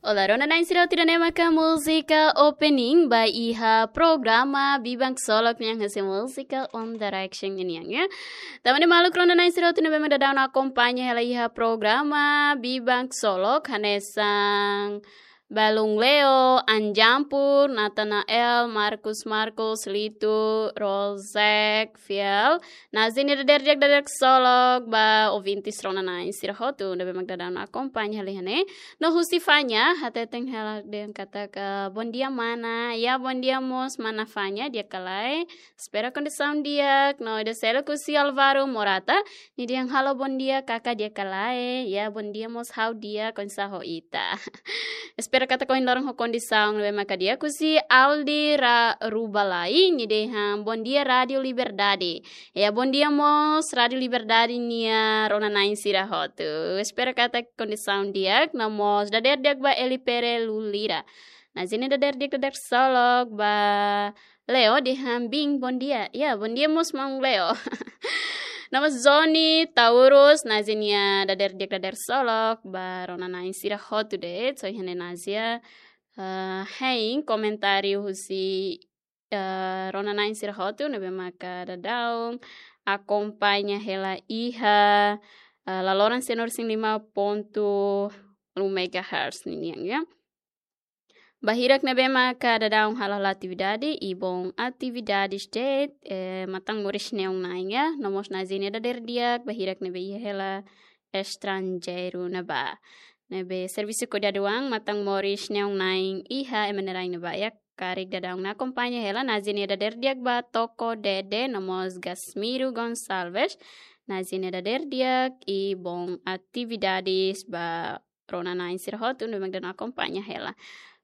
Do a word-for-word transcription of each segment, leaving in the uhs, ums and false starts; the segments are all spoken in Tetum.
Olá, rona-na'in sira hotu, ida-ne'e maka múzika opening ba iha programa Biban Ksolok nian, husi múzika One Direction nian, ya. Tanba ne'e maluk rona-na'in sira hotu ne'ebé mak daudaun akompaña hela iha programa Biban Ksolok, hanesan Balun Leo, Anjampur, Natanael, Marcus Marcos, Litu, Rosek, Fiel, Nazi nia dadeer di'ak, dadeer ksolok ba ouvintes rona-na'in sira hotu ne'ebé mak daudaun akompaña hela iha ne'e. No husi Fanya, hateten hela dehan katak, "Bondia mana." Ya, bondia mós mana Fanya, di'ak ka lae? Espera kondisaun di'ak. No ida seluk husi Alvaro Morata, nia dehan, "Halo, bondia kaka, di'ak ka lae?" Ya, bondia mós ha'u di'ak, oinsá ho ita? Espera katak ohin loron ho kondisaun ne'ebé maka di'ak. Husi Aldi Ra-, Rubalai, nia dehan, "Bondia Rádio Liberdade." Ya, bondia mós Rádio Liberdade nia rona-na'in sira hotu. Espera katak kondisaun di'ak, no mós dadeer di'ak ba Eli Pere Lulira. Nazi nia dadeer di'ak, dadeer ksolok ba Leo, dehan, "Bin, bondia." Ya, bondia mós maun Leo. No mós Zoni Taurus, Nazi nia dadeer di'ak, dadeer ksolok ba rona-na'in sira hotu de'it. So, iha ne'e Nazi, eh, hein komentáriu husi, eh, rona-na'in sira hotu ne'ebé maka daudaun akompaña hela iha, eh, laloran cento e cinco ponto um megahertz ninian, ya. Ba hirak ne'ebé maka daudaun hala'o atividade, i bon atividades de'it, eh, matan moris neon nain, ya. No mós Nazi nia dadeer di'ak ba hirak ne'ebé iha hela estranjeiru ne'ebá. Ne'ebé servisu kuidadu an, matan moris neon nain iha ema nia rain ne'ebá, ya. Karik daudaun akompaña hela. Nazi nia dadeer di'ak ba Toko Dede, no mós Gasmiro Gonçalves. Nazi nia dadeer di'ak i bon atividades ba rona-na'in sira hotu ne'ebé mak daudaun akompaña hela.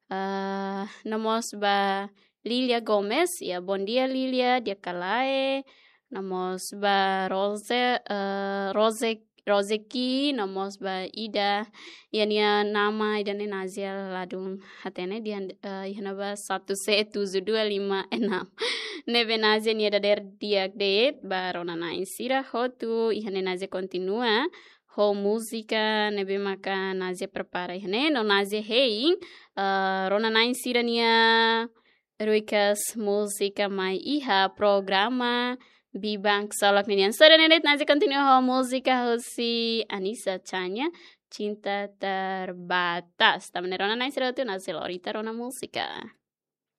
Ah, no mós ba Lilia Gomes, ya, bondia Lilia, di'ak ka lae? No mós ba Rose, eh, Rose, Roseki, no mós ba Ida, ya, nia nama ida-ne'e Nazi ladún hatene, dehan, eh, iha ne'ebá satu C tujuh dua lima enam. Ne'ebé Nazi nia dadeer di'ak de'it ba rona-na'in sira hotu. Iha ne'e Nazi kontinua ho múzika ne'ebé maka Nazi prepara iha ne'e, no Nazi hein, eh, rona-na'in sira-nia ruikas múzika mai iha programa Biban Ksolok ninian. So, ida-ne'e de'it, Nazi kontinua ho múzika husi Anisa Chania, Cinta Terbatas. Tanba ne'e rona-na'in sira hotu, Nazi lori ita rona múzika.